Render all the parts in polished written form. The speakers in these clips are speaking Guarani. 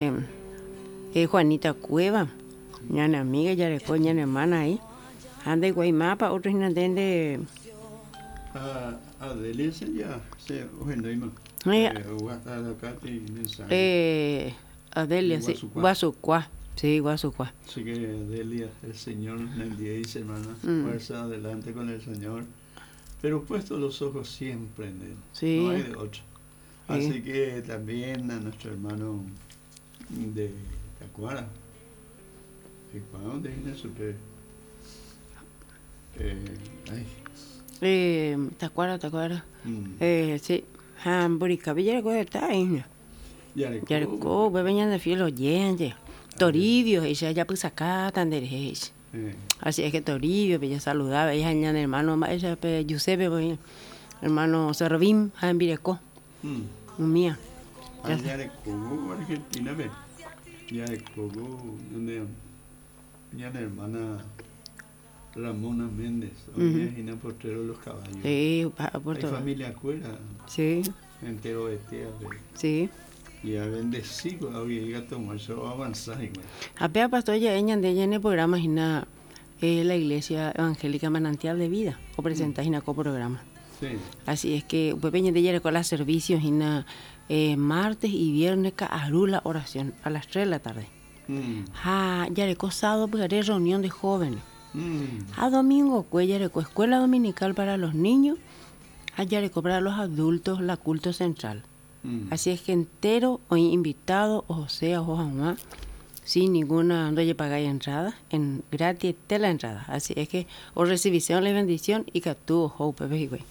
Juanita Cueva, ñane amiga jareko ñane hermana ahí. Ha ndaikuaái mápa otro hína nde nde. Ha Adelia se ya se ohenóima. Adelia, sí, Guasukua. Sí, Guasukua. Así que Adelia, el Señor nendiéi hermana, fuerza adelante con el Señor, pero puesto los ojos siempre en Él. Sí. No hay de otro. Así que también a nuestro hermano de Tacuara, ¿para dónde viene super? Ay. Tacuara, Tacuara. Sí. Ha Mburikavi jareko heta hína. Jareko upépe ñande fiel oyente. Toribio he'ícha japysakáta nde rehe he'ícha. Así es que Toribio pe jasaluda avei ha ñane hermano mba'éicha pe Giuseppe voi, hermano Servín ha hembireko. Umía. Ha jarekóvo Argentina-pe, jarekóvo ñane ñane hermana Ramona Méndez, oĩva hína Potrero de los Caballos. Sí, Puerto. Ha ifamiliakuéra. Sí. Enterovete avei. Sí. Y abendeci ko'águi ikatu hag̃uáicha oavansa hikuái. Ha péva pastor ja'e ñande ñane programa hína la Iglesia Evangélica Manantial de Vida opresenta hína ko programa. Sí. Así es que upépe ñande jareko la servicio hína martes y viernes ka'aru la oración a las 3 de la tarde. Ha jareko sábado pyhare reunión de jóvenes. Ha domingokue jareko escuela dominical para los niños ha jareko para los adultos la culto central. Así es que entero oĩ invitado ohosea oho hag̃ua sin ninguna ndojepagái entrada, en gratiete la entrada. Así es que orrecibisérõ la bendición ikatu oho upépe hikuái.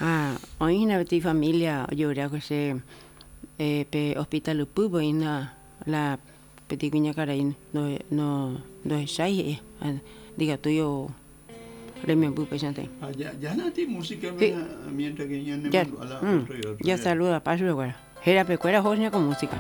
Ha oĩ hína peteĩ familia ojeguerekue che pe hospital ypýpe oĩ hína la peteĩ kuñakarai ndohechái he'i ndikatúi rememby upéichante. Ha ya nati música mientras que ñanemandu'a la otro y otro. Jasaluda pa chupekuéra. Hérapekuéra oho hína ko música.